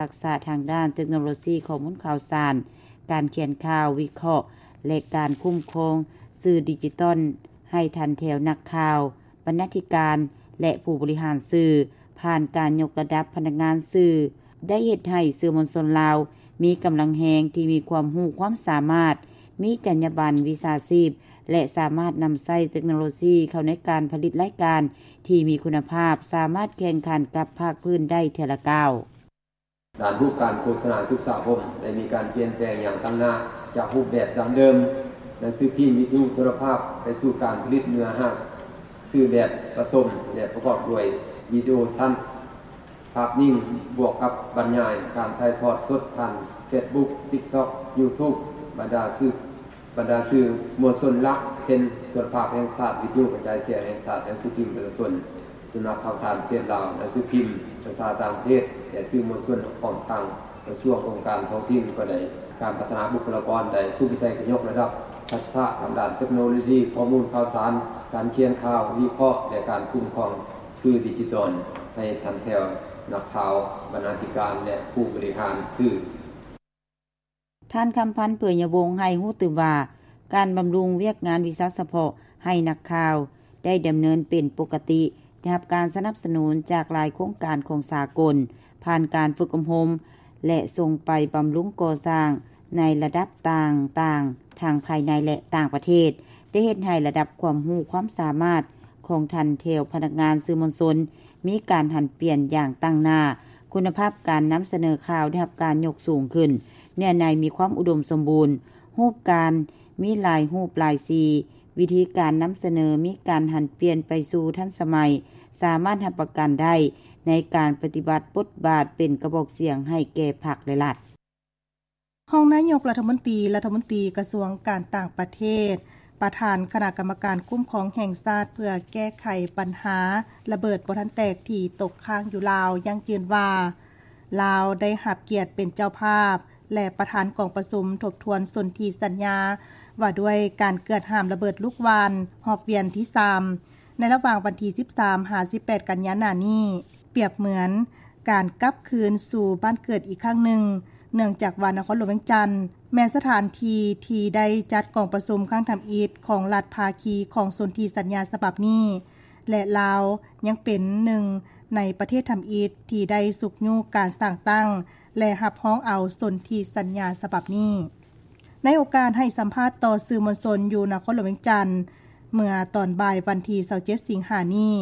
ທັກສະທາງດ້ານເຕັກໂນໂລຊີຂໍ້ມູນຂ່າວສານ, ການຂຽນຂ່າວ, ວິເຄາະ ແລະ ການຄຸ້ມຄອງສື່ດິຈິຕອນ ໃຫ້ທັນແຖວນັກຂ່າວ, ບັນນາທິການ ແລະ ຜູ້ບໍລິຫານສື່. ຜ່ານການຍົກລະດັບພະນັກງານສື່ ໄດ້ເຮັດໃຫ້ສື່ມວນຊົນລາວມີກຳລັງແຮງທີ່ມີຄວາມຮູ້ຄວາມສາມາດ, ມີຈັນຍາບັນວິຊາຊີບ ແລະ ສາມາດນຳໃຊ້ເຕັກໂນໂລຊີເຂົ້າໃນການຜະລິດລາຍການທີ່ມີຄຸນນະພາບ, ສາມາດແຂ່ງຂັນກັບພາກພື້ນໄດ້ເທື່ອລະກ້າວ. ດ້ານຮູບການໂຄສະນາສຶກສາຄົມ ໄດ້ມີການປ່ຽນແປງຢ່າງຕັ້ງໜ້າ ຈາກຮູບແບບດັ້ງເດີມ ໜັງສືພິມ, ວິທະຍຸ, ໂທລະພາບ ໄປສູ່ການຜະລິດເນື້ອຫາສື່ແບບປະສົມ ແລະ ປະກອບດ້ວຍວິດີໂອສັ້ນ, ພາບນິ່ງ ບວກກັບບັນຍາຍ, ການຖ່າຍທອດສົດຜ່ານເຟສບຸກ, ຕິກຕັອກ, ຢູທູບ, ບັນດາສື່ ບັນດາສື່ມວນຊົນຫຼັກ ເຊັ່ນ ໂທລະພາບແຫ່ງຊາດ, ວິທະຍຸກະຈາຍສຽງແຫ່ງຊາດ, ໜັງສືພິມປະຊາຊົນ, ສຳນັກຂ່າວສານປະເທດລາວ, ໜັງສືພິມພາສາຕ່າງປະເທດ ແລະ ສື່ມວນຊົນ ພ້ອມທັງກະຊວງ, ອົງການທ້ອງຖິ່ນກໍໄດ້. ການພັດທະນາບຸກຄະລາກອນໄດ້ສຸມໃສ່ກະຍົກລະດັບທັກສະທາງດ້ານເຕັກໂນໂລຊີຂໍ້ມູນຂ່າວສານ, ການຂຽນຂ່າວ, ວິເຄາະ ແລະ ການຄຸ້ມຄອງສື່ດິຈິຕອນ ໃຫ້ທັນແຖວນັກຂ່າວ, ບັນນາທິການ ແລະ ຜູ້ບໍລິຫານສື່. ທ່ານ ຄຳພັນ ເຜີຍຍະວົງ ໃຫ້ຮູ້ຕື່ມວ່າ ການບຳລຸງວຽກງານວິຊາສະເພາະໃຫ້ນັກຂ່າວໄດ້ດຳເນີນເປັນປົກກະຕິ, ໄດ້ຮັບການສະໜັບສະໜູນຈາກຫຼາຍໂຄງການຂອງສາກົນ, ຜ່ານການຝຶກອົບຮົມ ແລະ ສົ່ງໄປບຳລຸງກໍ່ສ້າງໃນລະດັບຕ່າງໆ ທັງພາຍໃນ ແລະ ຕ່າງປະເທດ, ໄດ້ເຮັດໃຫ້ລະດັບຄວາມຮູ້ຄວາມສາມາດຂອງທ່ານແຖວພະນັກງານສື່ມວນຊົນ ມີການຫັນປ່ຽນຢ່າງຕັ້ງໜ້າ, ຄຸນນະພາບການນຳສະເໜີຂ່າວໄດ້ຮັບການຍົກສູງຂຶ້ນ, ເນື້ອໃນມີຄວາມອຸດົມສົມບູນ, ຮູບການມີຫຼາຍຮູບຫຼາຍສີ, ວິທີການນຳສະເໜີມີການຫັນປ່ຽນໄປສູ່ທັນສະໄໝ, ສາມາດຮັບປະກັນໄດ້ໃນການປະຕິບັດບົດບາດເປັນກະບອກສຽງໃຫ້ແກ່ພັກ ແລະ ລັດ. ຮອງນາຍົກລັດຖະມົນຕີ, ລັດຖະມົນຕີກະຊວງການຕ່າງປະເທດ, ປະທານຄະນະກຳມະການຄຸ້ມຄອງແຫ່ງຊາດເພື່ອແກ້ໄຂບັນຫາລະເບີດບໍ່ທັນແຕກທີ່ຕົກຄ້າງຢູ່ລາວ ຢັ້ງຢືນວ່າ ລາວໄດ້ຮັບກຽດເປັນເຈົ້າພາບ ແລະ ປະທານກອງປະຊຸມທົບທວນສົນທິສັນຍາວ່າດ້ວຍການເກືອດຫ້າມລະເບີດລູກຫວ່ານຮອບວຽນທີສາມ ໃນລະຫວ່າງວັນທີສິບສາມຫາສິບແປດກັນຍາໜ້ານີ້ ປຽບເໝືອນການກັບຄືນສູ່ບ້ານເກີດອີກຄັ້ງໜຶ່ງ, ເນື່ອງຈາກວ່ານະຄອນຫຼວງວຽງຈັນ ແມ່ນສະຖານທີ່ທີ່ໄດ້ຈັດກອງປະຊຸມຄັ້ງທຳອິດຂອງລັດພາຄີຂອງສົນທິສັນຍາສະບັບນີ້ ແລະ ລາວຍັງເປັນໜຶ່ງໃນປະເທດທຳອິດທີ່ໄດ້ຊຸກຍູ້ການສ້າງຕັ້ງ ແລະ ຮັບຮອງເອົາສົນທິສັນຍາສະບັບນີ້. ໃນໂອກາດໃຫ້ສຳພາດຕໍ່ສື່ມວນຊົນຢູ່ນະຄອນຫຼວງວຽງຈັນ ເມື່ອຕອນບ່າຍວັນທີຊາວເຈັດສິງຫານີ້,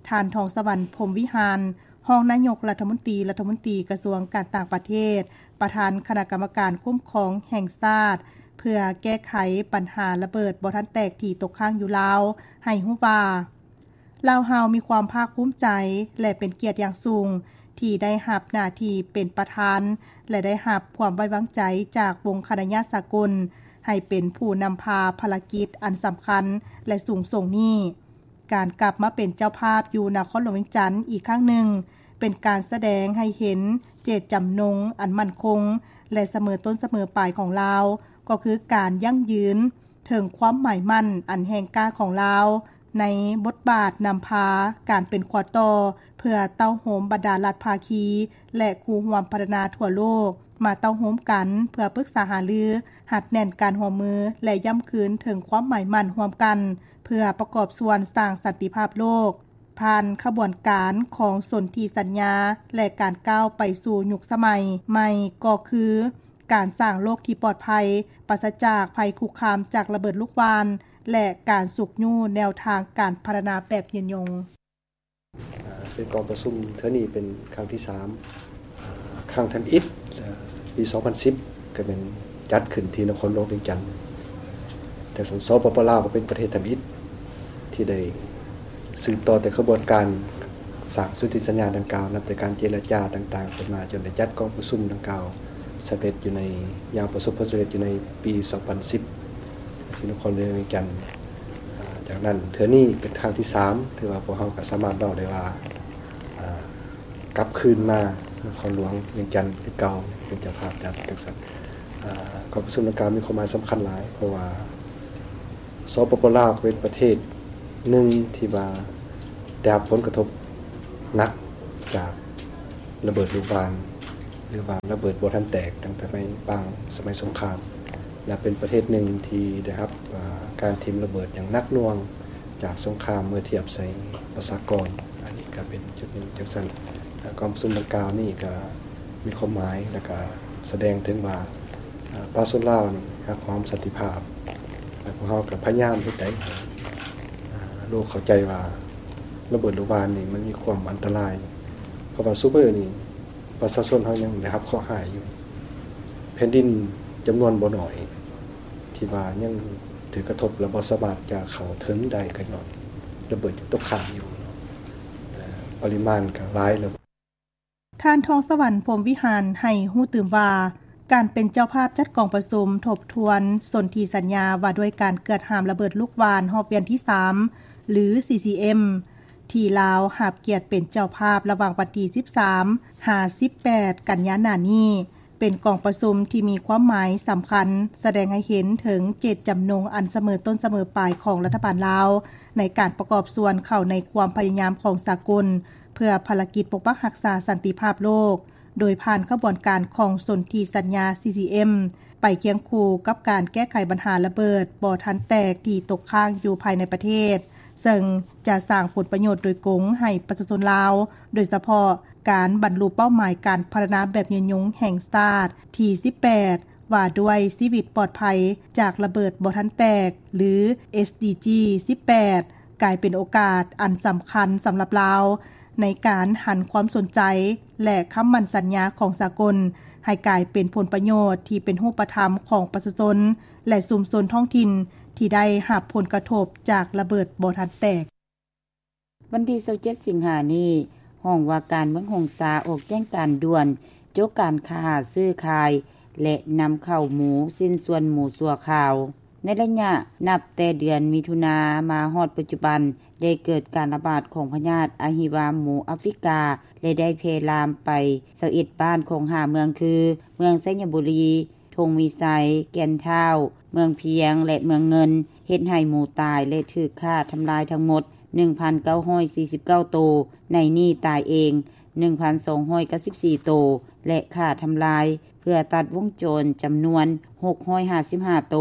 ທ່ານ ທອງສະຫວັນ ພົມວິຫານ ຮອງນາຍົກລັດຖະມົນຕີ, ລັດຖະມົນຕີກະຊວງການຕ່າງປະເທດ, ປະທານຄະນະກຳມະການຄຸ້ມຄອງແຫ່ງຊາດ ເພື່ອແກ້ໄຂບັນຫາລະເບີດບໍ່ທັນແຕກທີ່ຕົກຄ້າງຢູ່ລາວ ໃຫ້ຮູ້ວ່າ ລາວເຮົາມີຄວາມພາກພູມໃຈ ແລະ ເປັນກຽດຢ່າງສູງທີ່ໄດ້ຮັບໜ້າທີ່ເປັນປະທານ ແລະ ໄດ້ຮັບຄວາມໄວ້ວາງໃຈຈາກວົງຄະນະຍາດສາກົນ ໃຫ້ເປັນຜູ້ນຳພາພາລະກິດອັນສຳຄັນ ແລະ ສູງສົ່ງນີ້. ການກັບມາເປັນເຈົ້າພາບຢູ່ນະຄອນຫຼວງວຽງຈັນອີກຄັ້ງໜຶ່ງ ເປັນການສະແດງໃຫ້ເຫັນເຈດຈຳນົງອັນໝັ້ນຄົງ ແລະ ສະເໝີຕົ້ນສະເໝີປາຍຂອງລາວ, ກໍຄືການຢັ້ງຢືນເຖິງຄວາມໝາຍໝັ້ນອັນແຮງກ້າຂອງລາວ ໃນບົດບາດນຳພາການເປັນຂົວຕໍ່ ເພື່ອເຕົ້າໂຮມບັນດາລັດພາຄີ ແລະ ຄູ່ຮ່ວມພັດທະນາທົ່ວໂລກ ມາເຕົ້າໂຮມກັນເພື່ອປຶກສາຫາລື, ຮັດແໜ້ນການຮ່ວມມື ແລະ ຢ້ຳຄືນເຖິງຄວາມໝາຍໝັ້ນຮ່ວມກັນ ເພື່ອປະກອບສ່ວນສ້າງສັນຕິພາບໂລກ ຜ່ານຂະບວນການຂອງສົນທິສັນຍາ ແລະ ການກ້າວໄປສູ່ຍຸກສະໄໝໃໝ່ ກໍຄືການສ້າງໂລກທີ່ປອດໄພ, ປາສະຈາກໄພຄຸກຄາມຈາກລະເບີດລູກຫວ່ານ ແລະ ການຊຸກຍູ້ແນວທາງການພັດທະນາແບບຍືນຍົງ. ເປັນກອງປະຊຸມເທື່ອນີ້ເປັນຄັ້ງທີສາມ ຄັ້ງທຳອິດ ເອີ ປີສອງພັນສິບ ກໍແມ່ນຈັດຂຶ້ນທີ່ນະຄອນຫຼວງວຽງຈັນ. ແຕ່ສປປ ລາວກໍເປັນປະເທດທຳອິດທີ່ໄດ້ສືບຕໍ່ແຕ່ຂະບວນການສ້າງສົນທິສັນຍາດັ່ງກ່າວ, ນັບແຕ່ການເຈລະຈາຕ່າງໆ ເປັນມາ ຈົນໄດ້ຈັດກອງປະຊຸມດັ່ງກ່າວສຳເລັດຢູ່ໃນ ຢ່າງປະສົບຜົນສຳເລັດຢູ່ໃນປີສອງພັນສິບ ທີ່ນະຄອນຫຼວງວຽງຈັນ. ອາ ຈາກນັ້ນເທື່ອນີ້ເປັນຄັ້ງທີສາມ ຖືວ່າພວກເຮົາກໍສາມາດເວົ້າໄດ້ວ່າ ອາ ກັບຄືນມານະຄອນຫຼວງວຽງຈັນຄືເກົ່າ ເປັນເຈົ້າພາບຈັດຈັ່ງຊັ້ນ. ອາ ກອງປະຊຸມດັ່ງກ່າວມີຄວາມໝາຍສຳຄັນຫຼາຍ ເພາະວ່າ ສປປ ລາວ ກໍເປັນປະເທດໜຶ່ງທີ່ວ່າໄດ້ຮັບຜົນກະທົບໜັກຈາກລະເບີດລູກຫວ່ານ ຫຼືວ່າລະເບີດບໍ່ທັນແຕກຕັ້ງແຕ່ໃນປາງສະໄໝສົງຄາມ ແລະເປັນປະເທດໜຶ່ງທີ່ໄດ້ຮັບ ອາ ການຖິ້ມລະເບີດຢ່າງໜັກໜ່ວງຈາກສົງຄາມ ເມື່ອທຽບໃສ່ປະຊາກອນ. ອັນນີ້ກໍເປັນຈຸດໜຶ່ງຈັ່ງຊັ້ນ. ແລະກອງປະຊຸມດັ່ງກ່າວນີ້ກໍມີຄວາມໝາຍ ແລະກໍສະແດງເຖິງວ່າ ອາ ປະຊາຊົນລາວນີ້ຮັກຫອມສັນຕິພາບ ແລະພວກເຮົາກໍພະຍາຍາມເຮັດໃດ ອາ ໂລກເຂົ້າໃຈວ່າລະເບີດລູກຫວ່ານນີ້ມັນມີຄວາມອັນຕະລາຍ ເພາະວ່າຊຸມື້ນີ້ ປະຊາຊົນເຮົາຍັງໄດ້ຮັບເຄາະຮ້າຍຢູ່. ແຜ່ນດິນຈຳນວນບໍ່ໜ້ອຍທີ່ວ່າຍັງຖືກກະທົບ ແລະບໍ່ສາມາດຈະເຂົ້າເຖິງໄດ້ ກໍຍ້ອນລະເບີດຍັງຕົກຄ້າງຢູ່ເນາະ ແລະປະລິມານກໍຫຼາຍແລ້ວ. ທ່ານ ທອງສະຫວັນ ພົມວິຫານ ໃຫ້ຮູ້ຕື່ມວ່າ ການເປັນເຈົ້າພາບຈັດກອງປະຊຸມທົບທວນສົນທິສັນຍາວ່າດ້ວຍການເກືອດຫ້າມລະເບີດລູກຫວ່ານຮອບວຽນທີສາມ ຫຼື ຊີຊີເອັມ ທີ່ລາວຮັບກຽດເປັນເຈົ້າພາບລະຫວ່າງວັນທີສິບສາມ ຫາ ສິບແປດ ກັນຍາໜ້ານີ້ ເປັນກອງປະຊຸມທີ່ມີຄວາມໝາຍສຳຄັນ ສະແດງໃຫ້ເຫັນເຖິງເຈດຈຳນົງອັນສະເໝີຕົ້ນສະເໝີປາຍຂອງລັດຖະບານລາວ ໃນການປະກອບສ່ວນເຂົ້າໃນຄວາມພະຍາຍາມຂອງສາກົນ ເພື່ອພາລະກິດປົກປັກຮັກສາສັນຕິພາບໂລກ ໂດຍຜ່ານຂະບວນການຂອງສົນທິສັນຍາ ຊີຊີເອັມ ໄປຄຽງຄູ່ກັບການແກ້ໄຂບັນຫາລະເບີດບໍ່ທັນແຕກທີ່ຕົກຄ້າງຢູ່ພາຍໃນປະເທດ ເຊິ່ງຈະສ້າງຜົນປະໂຫຍດໂດຍກົງໃຫ້ປະຊາຊົນລາວ, ໂດຍສະເພາະການບັນລຸເປົ້າໝາຍການພັດທະນາແບບຍືນຍົງແຫ່ງຊາດທີສິບແປດ ວ່າດ້ວຍຊີວິດປອດໄພຈາກລະເບີດບໍ່ທັນແຕກ ຫຼື ເອສດີຈີ ສິບແປດ ກາຍເປັນໂອກາດອັນສຳຄັນສຳລັບລາວ ໃນການຫັນຄວາມສົນໃຈ ແລະ ຄຳໝັ້ນສັນຍາຂອງສາກົນ ໃຫ້ກາຍເປັນຜົນປະໂຫຍດທີ່ເປັນຮູບປະທຳຂອງປະຊາຊົນ ແລະ ຊຸມຊົນທ້ອງຖິ່ນທີ່ໄດ້ຮັບຜົນກະທົບຈາກລະເບີດບໍ່ທັນແຕກ. ວັນທີຊາວເຈັດ ສິງຫານີ້, ຫ້ອງວ່າການເມືອງຫົງສາອອກແຈ້ງການດ່ວນ ໂຈະການຄ້າ, ຊື້ຂາຍ ແລະ ນຳເຂົ້າໝູ, ຊິ້ນສ່ວນໝູຊົ່ວຄາວ. ໃນໄລຍະນັບແຕ່ເດືອນມິຖຸນາມາຮອດປັດຈຸບັນ, ໄດ້ເກີດການລະບາດຂອງພະຍາດອະຫິວາໝູອາຟຣິກາ ແລະ ໄດ້ແຜ່ລາມໄປຊາວເອັດບ້ານຂອງຫ້າເມືອງຄື ເມືອງໄຊຍະບູລີ, ທົ່ງວິໄຊ, ແກ່ນທ້າວ, ເມືອງພຽງ ແລະ ເມືອງເງິນ, ເຮັດໃຫ້ໝູຕາຍ ແລະ ຖືກຂ້າທຳລາຍທັງໝົດ ໜຶ່ງພັນເກົ້າຮ້ອຍສີ່ສິບເກົ້າໂຕ, ໃນນີ້ຕາຍເອງ ໜຶ່ງພັນສອງຮ້ອຍເກົ້າສິບສີ່ໂຕ ແລະ ຂ້າທຳລາຍ ເພື່ອຕັດວົງຈອນຈຳນວນ ຫົກຮ້ອຍຫ້າສິບຫ້າໂຕ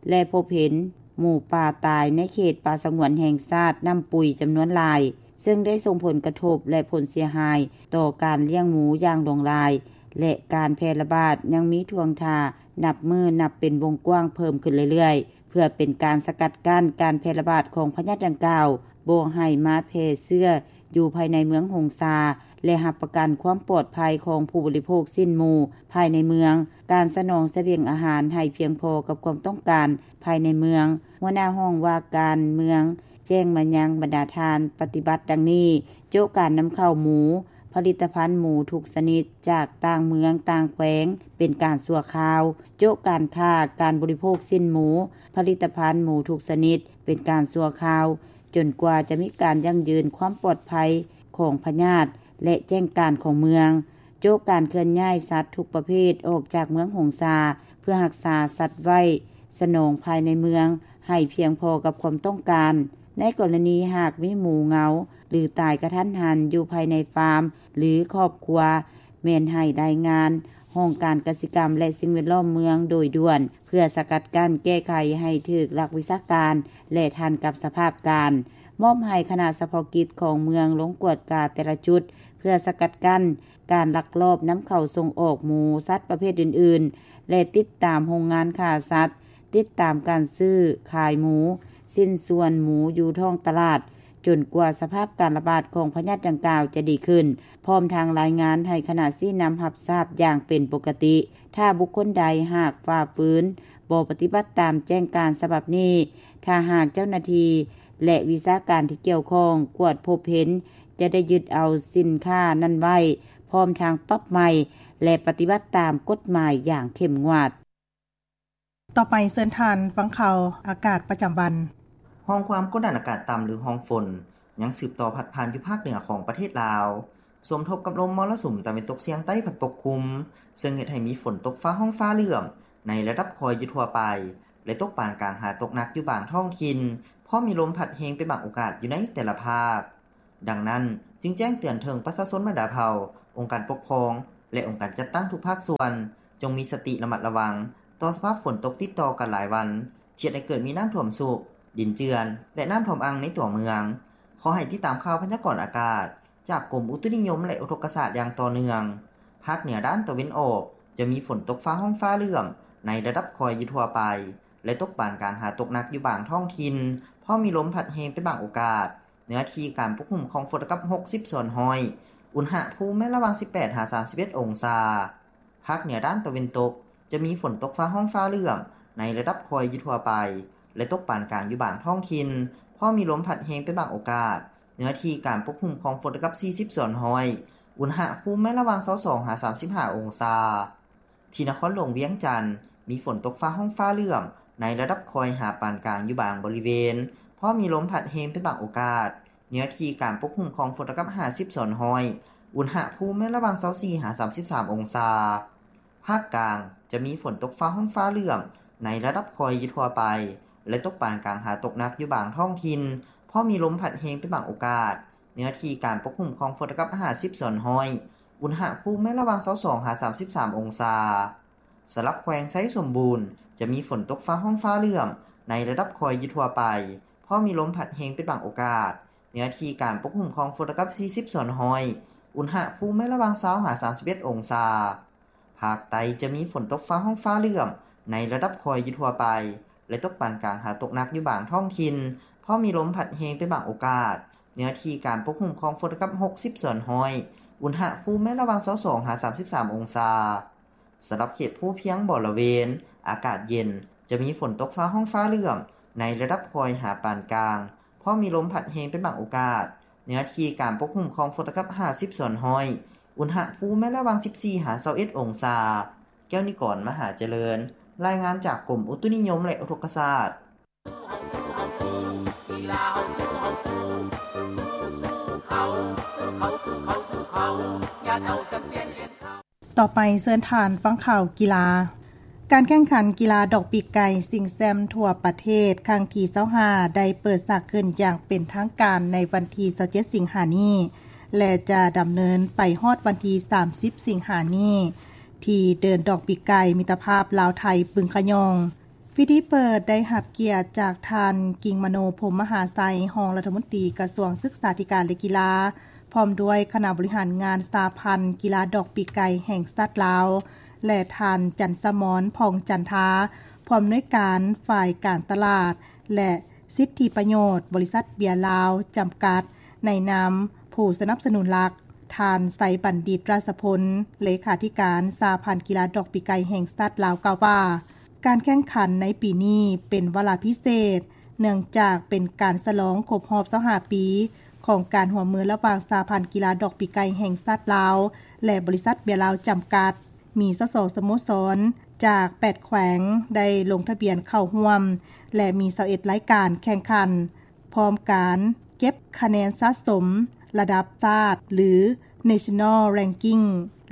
ແລະ ພົບເຫັນໝູປ່າຕາຍໃນເຂດປ່າສະຫງວນແຫ່ງຊາດນ້ຳປຸຍຈຳນວນຫຼາຍ, ເຊິ່ງໄດ້ສົ່ງຜົນກະທົບ ແລະ ຜົນເສຍຫາຍຕໍ່ການລ້ຽງໝູຢ່າງຫຼວງຫຼາຍ ແລະ ການແຜ່ລະບາດຍັງມີທ່ວງທ່ານັບມື້ນັບເປັນວົງກວ້າງເພີ່ມຂຶ້ນເລື້ອຍໆ. ເພື່ອເປັນການສະກັດກັ້ນການແຜ່ລະບາດຂອງພະຍາດດັ່ງກ່າວ ບໍ່ໃຫ້ມາແຜ່ເຊື້ອຢູ່ພາຍໃນເມືອງຫົງສາ ແລະ ຮັບປະກັນຄວາມປອດໄພຂອງຜູ້ບໍລິໂພກຊີ້ນໝູພາຍໃນເມືອງ, ການສະໜອງສະບຽງອາຫານໃຫ້ພຽງພໍກັບຄວາມຕ້ອງການພາຍໃນເມືອງ, ຫົວໜ້າຫ້ອງວ່າການເມືອງແຈ້ງມາຍັງບັນດາທ່ານປະຕິບັດດັ່ງນີ້, ໂຈະການນຳເຂົ້າໝູ, ຜະລິດຕະພັນໝູທຸກຊະນິດຈາກຕ່າງເມືອງຕ່າງແຂວງເປັນການຊົ່ວຄາວ, ໂຈະການຄ້າການບໍລິໂພກຊີ້ນໝູ, ຜະລິດຕະພັນໝູທຸກຊະນິດເປັນການຊົ່ວຄາວ, ຈົນກວ່າຈະມີການຢັ້ງຢືນຄວາມປອດໄພຂອງພະຍາດ ແລະ ແຈ້ງການຂອງເມືອງ, ໂຈະການເຄື່ອນຍ້າຍສັດທຸກປະເພດອອກຈາກເມືອງຫົງສາ ເພື່ອຮັກສາສັດໄວ້ສະໜອງພາຍໃນເມືອງໃຫ້ພຽງພໍກັບຄວາມຕ້ອງການ. ໃນກໍລະນີຫາກມີໝູເຫງົາ ຫຼື ຕາຍກະທັນຫັນຢູ່ພາຍໃນຟາມ ຫຼື ຄອບຄົວ ແມ່ນໃຫ້ລາຍງານຫ້ອງການກະສິກຳ ແລະ ສິ່ງແວດລ້ອມເມືອງໂດຍດ່ວນ ເພື່ອສະກັດກັ້ນແກ້ໄຂໃຫ້ຖືກຫຼັກວິຊາການ ແລະ ທັນກັບສະພາບການ. ມອບໃຫ້ຄະນະສະເພາະກິດຂອງເມືອງລົງກວດກາແຕ່ລະຈຸດ ເພື່ອສະກັດກັ້ນການລັກລອບນຳເຂົ້າສົ່ງອອກໝູສັດປະເພດອື່ນໆ ແລະ ຕິດຕາມໂຮງງານຂ້າສັດ, ຕິດຕາມການຊື້ຂາຍໝູ, ຊິ້ນສ່ວນໝູຢູ່ທ້ອງຕະຫຼາດ, ຈົນກວ່າສະພາບການລະບາດຂອງພະຍາດດັ່ງກ່າວຈະດີຂຶ້ນ, ພ້ອມທັງລາຍງານໃຫ້ຄະນະຊີ້ນຳຮັບຊາບຢ່າງເປັນປົກກະຕິ. ຖ້າບຸກຄົນໃດຫາກຝ່າຝືນ, ບໍ່ປະຕິບັດຕາມແຈ້ງການສະບັບນີ້, ຖ້າຫາກເຈົ້າໜ້າທີ່ ແລະ ວິຊາການທີ່ກ່ຽວຂ້ອງກວດພົບເຫັນ, ຈະໄດ້ຍຶດເອົາສິນຄ້ານັ້ນໄວ້, ພ້ອມທັງປັບໃໝ ແລະ ປະຕິບັດຕາມກົດໝາຍຢ່າງເຂັ້ມງວດ. ຕໍ່ໄປເຊີນທ່ານຟັງຂ່າວອາກາດປະຈຳວັນ. ຮ່ອງຄວາມກົດດັນອາກາດຕ່ຳ ຫຼື ຮ່ອງຝົນ ຍັງສືບຕໍ່ພັດຜ່ານຢູ່ພາກເໜືອຂອງປະເທດລາວ, ສົມທົບກັບລົມມໍລະສຸມຕາເວັນຕົກສຽງໃຕ້ພັດປົກຄຸມ, ເຊິ່ງເຮັດໃຫ້ມີຝົນຕົກຟ້າຮ້ອງຟ້າເຫຼື້ອມໃນລະດັບຄ່ອຍຢູ່ທົ່ວໄປ ແລະ ຕົກປານກາງຫາຕົກໜັກຢູ່ບາງທ້ອງຖິ່ນ, ພ້ອມມີລົມພັດແຮງເປັນບາງໂອກາດຢູ່ໃນແຕ່ລະພາກ. ດັ່ງນັ້ນ, ຈຶ່ງແຈ້ງເຕືອນເຖິງປະຊາຊົນບັນດາເຜົ່າ, ອົງການປົກຄອງ, ແລະ ອົງການຈັດຕັ້ງທຸກພາກສ່ວນ ຈົ່ງມີສະຕິລະມັດລະວັງຕໍ່ສະພາບຝົນຕົກຕິດຕໍ່ກັນຫຼາຍວັນ ທີ່ເຮັດໃຫ້ເກີດມີນ້ຳຖ້ວມຊຸກ, ດິນເຈື່ອນ ແລະ ນ້ຳຖ້ວມອັ່ງໃນຕົວເມືອງ. ຂໍໃຫ້ຕິດຕາມຂ່າວພະຍາກອນອາກາດຈາກກົມອຸຕຸນິຍົມ ແລະ ອຸທົກກະສາດຢ່າງຕໍ່ເນື່ອງ. ພາກເໜືອດ້ານຕາເວັນອອກ ຈະມີຝົນຕົກຟ້າຮ້ອງຟ້າເຫຼື້ອມໃນລະດັບຄ່ອຍຢູ່ທົ່ວໄປ ແລະ ຕົກປານກາງຫາຕົກໜັກຢູ່ບາງທ້ອງຖິ່ນ, ພ້ອມມີລົມພັດແຮງເປັນບາງໂອກາດ. ເນື້ອທີ່ການປົກຄຸມຂອງຝົນເທົ່າກັບຫົກສິບສ່ວນຮ້ອຍ, ອຸນຫະພູມແມ່ນລະຫວ່າງສິບແປດຫາສາມສິບເອັດອົງສາ. ພາກເໜືອດ້ານຕາເວັນຕົກ ຈະມີຝົນຕົກຟ້າຮ້ອງຟ້າເຫຼື້ອມໃນລະດັບຄ່ອຍຢູ່ທົ່ວໄປ ແລະ ຕົກປານກາງຢູ່ບາງທ້ອງຖິ່ນ, ພ້ອມມີລົມພັດແຮງເປັນບາງໂອກາດ. ເນື້ອທີ່ການປົກຄຸມຂອງຝົນເທົ່າກັບສີ່ສິບສ່ວນຮ້ອຍ, ອຸນຫະພູມແມ່ນລະຫວ່າງຊາວສອງຫາສາມສິບຫ້າອົງສາ. ທີ່ນະຄອນຫຼວງວຽງຈັນ ມີຝົນຕົກຟ້າຮ້ອງຟ້າເຫຼື້ອມໃນລະດັບຄ່ອຍຫາປານກາງຢູ່ບາງບໍລິເວນ, ພ້ອມມີລົມພັດແຮງເປັນບາງໂອກາດ. ເນື້ອທີ່ການປົກຄຸມຂອງຝົນເທົ່າກັບຫ້າສິບສ່ວນຮ້ອຍ, ອຸນຫະພູມແມ່ນລະຫວ່າງຊາວສີ່ຫາສາມສິບສາມອົງສາ. ພາກກາງ ຈະມີຝົນຕົກຟ້າຮ້ອງຟ້າເຫຼື້ອມໃນລະດັບຄ່ອຍຢູ່ທົ່ວໄປ ແລະ ຕົກປານກາງຫາຕົກໜັກຢູ່ບາງທ້ອງຖິ່ນ, ພ້ອມມີລົມພັດແຮງເປັນບາງໂອກາດ. ເນື້ອທີ່ການປົກຄຸມຂອງຝົນເທົ່າກັບຫ້າສິບສ່ວນຮ້ອຍ, ອຸນຫະພູມແມ່ນລະຫວ່າງຊາວສອງຫາສາມສິບສາມອົງສາ. ສຳລັບແຂວງໄຊສົມບູນ ຈະມີຝົນຕົກຟ້າຮ້ອງຟ້າເຫຼື້ອມໃນລະດັບຄ່ອຍຢູ່ທົ່ວໄປ, ພ້ອມມີລົມພັດແຮງເປັນບາງໂອກາດ. ເນື້ອທີ່ການປົກຄຸມຂອງຝົນເທົ່າກັບສີ່ສິບສ່ວນຮ້ອຍ, ອຸນຫະພູມແມ່ນລະຫວ່າງຊາວຫາສາມສິບເອັດອົງສາ. ພາກໃຕ້ຈະມີຝົນຕົກຟ້າຮ້ອງຟ້າເຫຼື້ອມໃນລະດັບຄ່ອຍຢູ່ທົ່ວໄປ ແລະ ຕົກປານກາງຫາຕົກໜັກຢູ່ບາງທ້ອງຖິ່ນ, ພ້ອມມີລົມພັດແຮງເປັນບາງໂອກາດ. ເນື້ອທີ່ການປົກຄຸມຂອງຝົນເທົ່າກັບຫົກສິບສ່ວນຮ້ອຍ, ອຸນຫະພູມແມ່ນລະຫວ່າງຊາວສອງຫາສາມສິບສາມອົງສາ. ສຳລັບເຂດພູພຽງບໍລະເວນ ອາກາດເຢັນ, ຈະມີຝົນຕົກຟ້າຮ້ອງຟ້າເຫຼື້ອມໃນລະດັບຄ່ອຍຫາປານກາງ, ພ້ອມມີລົມພັດແຮງເປັນບາງໂອກາດ. ເນື້ອທີ່ການປົກຄຸມຂອງຝົນເທົ່າກັບຫ້າສິບສ່ວນຮ້ອຍ, ອຸນຫະພູມແມ່ນລະຫວ່າງສິບສີ່ຫາຊາວເອັດອົງສາ. ແກ້ວນິກອນ ມະຫາຈະເລີນ, ລາຍງານຈາກກົມອຸຕຸນິຍົມ ແລະ ອຸທົກກະສາດ. ຕໍ່ໄປເຊີນທ່ານຟັງຂ່າວກິລາ. ການແຂ່ງຂັນກິລາດອກປີກໄກ່ຊິງແຊັມທົ່ວປະເທດຄັ້ງທີຊາວຫ້າ ໄດ້ເປີດສາກຂຶ້ນຢ່າງເປັນທາງການໃນວັນທີຊາວເຈັດສິງຫານີ້ ແລະ ຈະດຳເນີນໄປຮອດວັນທີສາມສິບສິງຫານີ້ ທີ່ເດີ່ນດອກປີກໄກ່ມິດຕະພາບລາວໄທ ບຶງຂະຫຍອງ. ພິທີເປີດໄດ້ຮັບກຽດຈາກທ່ານ ກິງມະໂນ ພົມມະຫາໄຊ ຮອງລັດຖະມົນຕີກະຊວງສຶກສາທິການ ແລະ ກິລາ, ພ້ອມດ້ວຍຄະນະບໍລິຫານງານສະຫະພັນກິລາດອກປີກໄກ່ແຫ່ງຊາດລາວ ແລະ ທ່ານ ຈັນສະໝອນ ຜ່ອງຈັນທາ ຜູ້ອຳນວຍການຝ່າຍການຕະຫຼາດ ແລະ ສິດທິປະໂຫຍດ ບໍລິສັດເບຍລາວ ຈຳກັດ ໃນນາມຜູ້ສະໜັບສະໜູນຫຼັກ, ທ່ານ ໄຊບັນດິດ ຣາຊະພົນ ເລຂາທິການສະຫະພັນກິລາດອກປີກໄກ່ແຫ່ງຊາດລາວ ກ່າວວ່າ ການແຂ່ງຂັນໃນປີນີ້ເປັນວາລະພິເສດ ເນື່ອງຈາກເປັນການສະຫຼອງຄົບຮອບຊາວຫ້າປີຂອງການຮ່ວມມືລະຫວ່າງສະຫະພັນກິລາດອກປີກໄກ່ແຫ່ງຊາດລາວ ແລະ ບໍລິສັດເບຍລາວ ຈຳກັດ. ມີຊາວສອງສະໂມສອນຈາກແປດແຂວງໄດ້ລົງທະບຽນເຂົ້າຮ່ວມ ແລະ ມີຊາວເອັດລາຍການແຂ່ງຂັນ. ພ້ອມການເກັບຄະແນນສະສົມລະດັບຊາດ ຫຼື National Ranking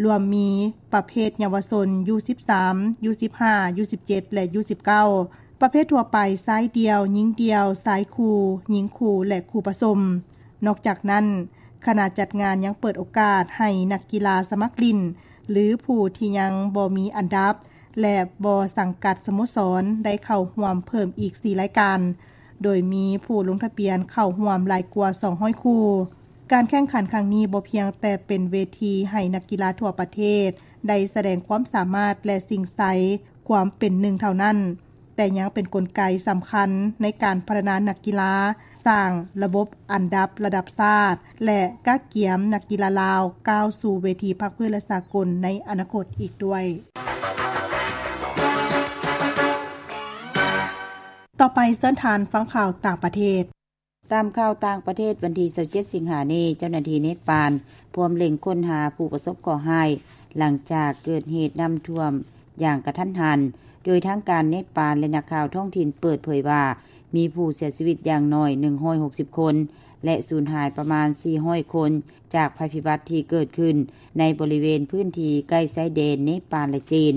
ລວມມີປະເພດເຍົາວະຊົນ ຢູສິບສາມ ຢູສິບຫ້າ ຢູສິບເຈັດ ແລະ ຢູສິບເກົ້າ, ປະເພດທົ່ວໄປ ຊາຍດ່ຽວ, ຍິງດ່ຽວ, ຊາຍຄູ່, ຍິງຄູ່ ແລະ ຄູ່ປະສົມ. ນອກຈາກນັ້ນ, ຄະນະຈັດງານຍັງເປີດໂອກາດໃຫ້ນັກກິລາສະໝັກຫຼິ້ນ ຫຼື ຜູ້ທີ່ຍັງບໍ່ມີອັນດັບ ແລະ ບໍ່ສັງກັດສະໂມສອນ ໄດ້ເຂົ້າຮ່ວມເພີ່ມອີກສີ່ລາຍການ, ໂດຍມີຜູ້ລົງທະບຽນເຂົ້າຮ່ວມຫຼາຍກວ່າສອງຮ້ອຍຄູ່. ການແຂ່ງຂັນຄັ້ງນີ້ບໍ່ພຽງແຕ່ເປັນເວທີໃຫ້ນັກກິລາທົ່ວປະເທດໄດ້ສະແດງຄວາມສາມາດ ແລະ ຊິງໄຊຄວາມເປັນໜຶ່ງເທົ່ານັ້ນ, ແຕ່ຍັງເປັນກົນໄກສຳຄັນໃນການພັດທະນານັກກິລາ, ສ້າງລະບົບອັນດັບລະດັບຊາດ ແລະ ກະກຽມນັກກິລາລາວກ້າວສູ່ເວທີພາກພື້ນ ແລະ ສາກົນໃນອະນາຄົດອີກດ້ວຍ. ຕໍ່ໄປເຊີນທ່ານຟັງຂ່າວຕ່າງປະເທດ. ຕາມຂ່າວຕ່າງປະເທດ, ວັນທີຊາວເຈັດສິງຫານີ້, ເຈົ້າໜ້າທີ່ເນປານພວມເລັ່ງຄົ້ນຫາຜູ້ປະສົບເຄາະຮ້າຍ ຫຼັງຈາກເກີດເຫດນ້ຳຖ້ວມຢ່າງກະທັນຫັນ, ໂດຍທາງການເນປານ ແລະ ນັກຂ່າວທ້ອງຖິ່ນເປີດເຜີຍວ່າ ມີຜູ້ເສຍຊີວິດຢ່າງໜ້ອຍໜຶ່ງຮ້ອຍຫົກສິບຄົນ ແລະ ສູນຫາຍປະມານສີ່ຮ້ອຍຄົນ ຈາກໄພພິບັດທີ່ເກີດຂຶ້ນໃນບໍລິເວນພື້ນທີ່ໃກ້ຊາຍແດນເນປານ ແລະ ຈີນ.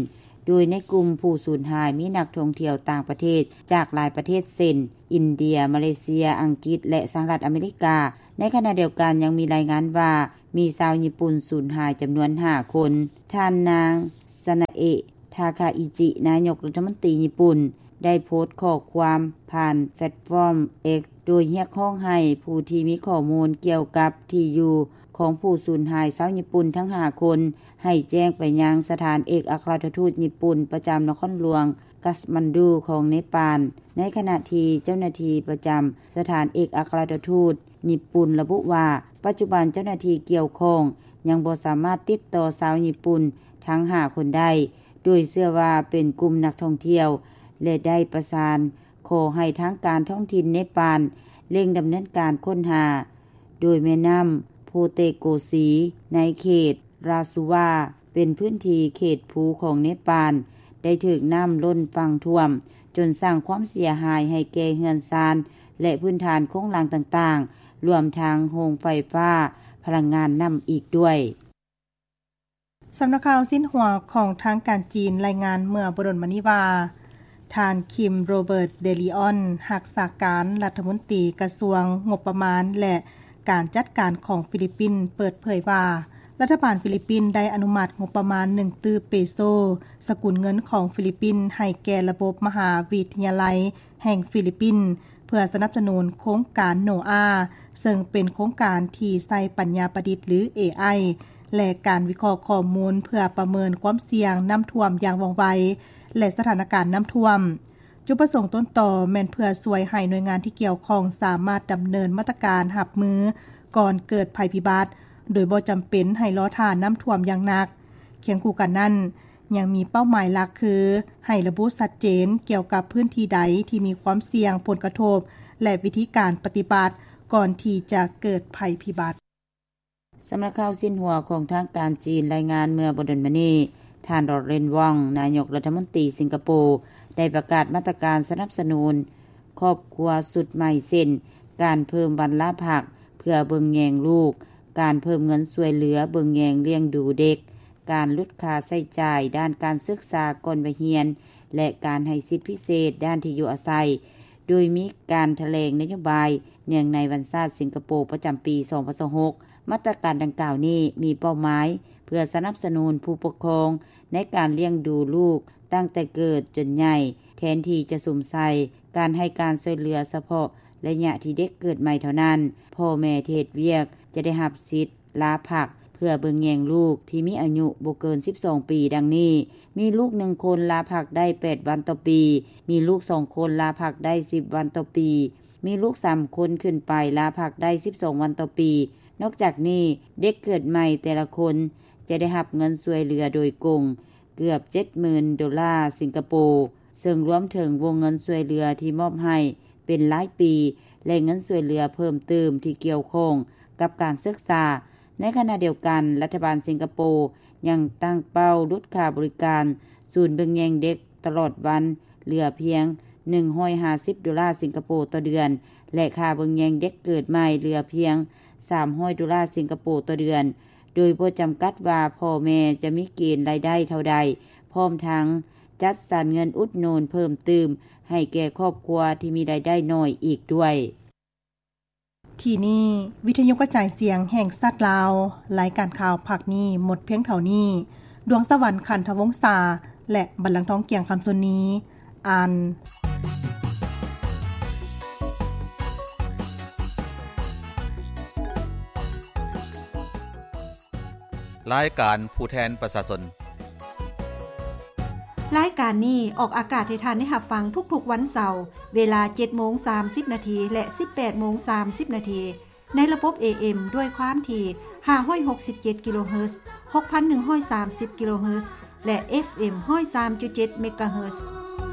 ໂດຍໃນກຸ່ມຜູ້ສູນຫາຍມີນັກທ່ອງທ່ຽວຕ່າງປະເທດຈາກຫຼາຍປະເທດ ເຊັ່ນ ອິນເດຍ, ມາເລເຊຍ, ອັງກິດ ແລະ ສະຫະລັດອາເມລິກາ, ໃນຂະນະດຽວກັນ ຍັງມີລາຍງານວ່າ ມີຊາວຍີ່ປຸ່ນສູນຫາຍຈຳນວນຫ້າຄົນ. ທ່ານນາງ ຊານາເອະ ທາຄາອິຈິ ນາຍົກລັດຖະມົນຕີຍີ່ປຸ່ນ ໄດ້ໂພສຂໍ້ຄວາມຜ່ານແພລດຟອມ X ໂດຍຮຽກຮ້ອງໃຫ້ຜູ້ທີ່ມີຂໍ້ມູນກ່ຽວກັບທີ່ຢູ່ຂອງຜູ້ສູນຫາຍຊາວຍີ່ປຸ່ນທັງຫ້າຄົນ ໃຫ້ແຈ້ງໄປຍັງສະຖານເອກອັກຄະລັດຖະທູດຍີ່ປຸ່ນປະຈຳນະຄອນຫຼວງກາດມານດູຂອງເນປານ. ໃນຂະນະທີ່ເຈົ້າໜ້າທີ່ປະຈຳສະຖານເອກອັກຄະລັດຖະທູດຍີ່ປຸ່ນລະບຸວ່າ ປັດຈຸບັນເຈົ້າໜ້າທີ່ກ່ຽວຂ້ອງຍັງບໍ່ສາມາດຕິດຕໍ່ຊາວຍີ່ປຸ່ນທັງຫ້າຄົນໄດ້ ໂດຍເຊື່ອວ່າເປັນກຸ່ມນັກທ່ອງທ່ຽວ ແລະ ໄດ້ປະສານຂໍໃຫ້ທາງການທ້ອງຖິ່ນເນປານເລັ່ງດຳເນີນການຄົ້ນຫາ ໂດຍແມ່ນ້ຳໂພເຕໂກຊີ ໃນເຂດລາຊູວາ ເປັນພື້ນທີ່ເຂດພູຂອງເນປານ ໄດ້ຖືກນ້ຳລົ້ນຝັ່ງຖ້ວມ ຈົນສ້າງຄວາມເສຍຫາຍໃຫ້ແກ່ເຮືອນຊານ ແລະ ພື້ນຖານໂຄງລ່າງຕ່າງໆ ລວມທັງໂຮງໄຟຟ້າພະລັງງານນ້ຳອີກດ້ວຍ. ສຳນັກຂ່າວຊິນຫົວຂອງທາງການຈີນລາຍງານເມື່ອບໍ່ດົນມານີ້ວ່າ ທ່ານ ຄິມ ໂຣເບີດ ເດລີອອນ ຮັກສາການລັດຖະມົນຕີກະຊວງງົບປະມານ ແລະ ການຈັດການຂອງຟີລິບປິນ ເປີດເຜີຍວ່າ ລັດຖະບານຟີລິບປິນໄດ້ອະນຸມັດງົບປະມານໜຶ່ງຕື້ເປໂຊ ສະກຸນເງິນຂອງຟີລິບປິນ ໃຫ້ແກ່ລະບົບມະຫາວິທະຍາໄລແຫ່ງຟີລິບປິນ ເພື່ອສະໜັບສະໜູນໂຄງການໂນອາ ເຊິ່ງເປັນໂຄງການທີ່ໃຊ້ປັນຍາປະດິດ ຫຼື ເອໄອ ແລະ ການວິເຄາະຂໍ້ມູນເພື່ອປະເມີນຄວາມສ່ຽງນ້ຳຖ້ວມຢ່າງວ່ອງໄວ ແລະ ສະຖານະການນ້ຳຖ້ວມ. ຈຸດປະສົງຕົ້ນຕໍແມ່ນເພື່ອຊ່ວຍໃຫ້ໜ່ວຍງານທີ່ກ່ຽວຂ້ອງສາມາດດຳເນີນມາດຕະການຮັບມືກ່ອນເກີດໄພພິບັດ ໂດຍບໍ່ຈຳເປັນໃຫ້ລໍຖ້ານ້ຳຖ້ວມຢ່າງໜັກ. ຄຽງຄູ່ກັນນັ້ນ, ຍັງມີເປົ້າໝາຍຫຼັກຄື ໃຫ້ລະບຸຊັດເຈນກ່ຽວກັບພື້ນທີ່ໃດທີ່ມີຄວາມສ່ຽງຜົນກະທົບ ແລະ ວິທີການປະຕິບັດກ່ອນທີ່ຈະເກີດໄພພິບັດ. ສຳນັກຂ່າວຊິນຫົວຂອງທາງການຈີນລາຍງານເມື່ອບໍ່ດົນມານີ້, ທ່ານ ຣອດເຣນ ວອງ ນາຍົກລັດຖະມົນຕີສິງກະໂປ ໄດ້ປະກາດມາດຕະການສະໜັບສະໜູນຄອບຄົວຊຸດໃໝ່ ເຊັ່ນ ການເພີ່ມວັນລາພັກເພື່ອເບິ່ງແຍງລູກ, ການເພີ່ມເງິນຊ່ວຍເຫຼືອເບິ່ງແຍງລ້ຽງດູເດັກ, ການຫຼຸດຄ່າໃຊ້ຈ່າຍດ້ານການສຶກສາກ່ອນໄວຮຽນ ແລະ ການໃຫ້ສິດພິເສດດ້ານທີ່ຢູ່ອາໄສ, ໂດຍມີການຖະແຫຼງນະໂຍບາຍເນື່ອງໃນວັນຊາດສິງກະໂປປະຈຳປີສອງພັນຊາວຫົກ. ມາດຕະການດັ່ງກ່າວນີ້ມີເປົ້າໝາຍເພື່ອສະໜັບສະໜູນຜູ້ປົກຄອງໃນການລ້ຽງດູລູກຕັ້ງແຕ່ເກີດຈົນໃຫຍ່, ແທນທີ່ຈະສຸມໃສ່ການໃຫ້ການຊ່ວຍເຫຼືອສະເພາະໄລຍະທີ່ເດັກເກີດໃໝ່ເທົ່ານັ້ນ, ພໍ່ແມ່ທີ່ເຮັດວຽກຈະໄດ້ຮັບສິດ ລາພັກເພື່ອເບິ່ງແຍງລູກທີ່ມີອາຍຸບໍ່ເກີນສິບສອງປີ ດັ່ງນີ້: ມີລູກໜຶ່ງຄົນລາພັກໄດ້ແປດວັນຕໍ່ປີ, ມີລູກສອງຄົນລາພັກໄດ້ສິບວັນຕໍ່ປີ, ມີລູກສາມຄົນຂຶ້ນໄປລາພັກໄດ້ສິບສອງວັນຕໍ່ປີ. ນອກຈາກນີ້, ເດັກເກີດໃໝ່ແຕ່ລະຄົນຈະໄດ້ຮັບເງິນຊ່ວຍເຫຼືອໂດຍກົງເກືອບເຈັດໝື່ນໂດລາສິງກະໂປ, ເຊິ່ງລວມເຖິງວົງເງິນຊ່ວຍເຫຼືອທີ່ມອບໃຫ້ເປັນລາຍປີ ແລະ ເງິນຊ່ວຍເຫຼືອເພີ່ມຕື່ມທີ່ກ່ຽວຂ້ອງກັບການສຶກສາ. ໃນຂະນະດຽວກັນ, ລັດຖະບານສິງກະໂປຍັງຕັ້ງເປົ້າຫຼຸດຄ່າບໍລິການສູນເບິ່ງແຍງເດັກຕະຫຼອດວັນເຫຼືອພຽງໜຶ່ງຮ້ອຍຫ້າສິບໂດລາສິງກະໂປຕໍ່ເດືອນ ແລະ ຄ່າເບິ່ງແຍງເດັກເກີດໃໝ່ເຫຼືອພຽງສາມຮ້ອຍໂດລາສິງກະໂປຕໍ່ເດືອນ, ໂດຍບໍ່ຈຳກັດວ່າພໍ່ແມ່ຈະມີເກນລາຍໄດ້ເທົ່າໃດ, ພ້ອມທັງຈັດສັນເງິນອຸດໜູນເພີ່ມຕື່ມໃຫ້ແກ່ຄອບຄົວທີ່ມີລາຍໄດ້ໜ້ອຍອີກດ້ວຍ. ທີ່ນີ້ ວິທະຍຸກະຈາຍສຽງແຫ່ງຊາດລາວ, ລາຍການຂ່າວພາກນີ້ໝົດພຽງເທົ່ານີ້. ດວງສະຫວັນ ຂັນທະວົງສາ ແລະ ບັນລັງທອງ ກຽງຄຳ ຊົນນີ ອ່ານ. ລາຍການຜູ້ແທນປະຊາຊົນ. ລາຍການນີ້ອອກອາກາດໃຫ້ທ່ານໄດ້ຮັບຟັງທຸກໆວັນເສົາ ເວລາເຈັດໂມງສາມສິບນາທີ ແລະ ສິບແປດໂມງສາມສິບນາທີ ໃນລະບົບ ເອເອັມ ດ້ວຍຄວາມຖີ່ຫ້າຮ້ອຍຫົກສິບເຈັດກິໂລເຮີດ, ຫົກພັນໜຶ່ງຮ້ອຍສາມສິບກິໂລເຮີດ ແລະ ເອັຟເອັມ ຮ້ອຍສາມຈຸດເຈັດເມກາເຮີດ.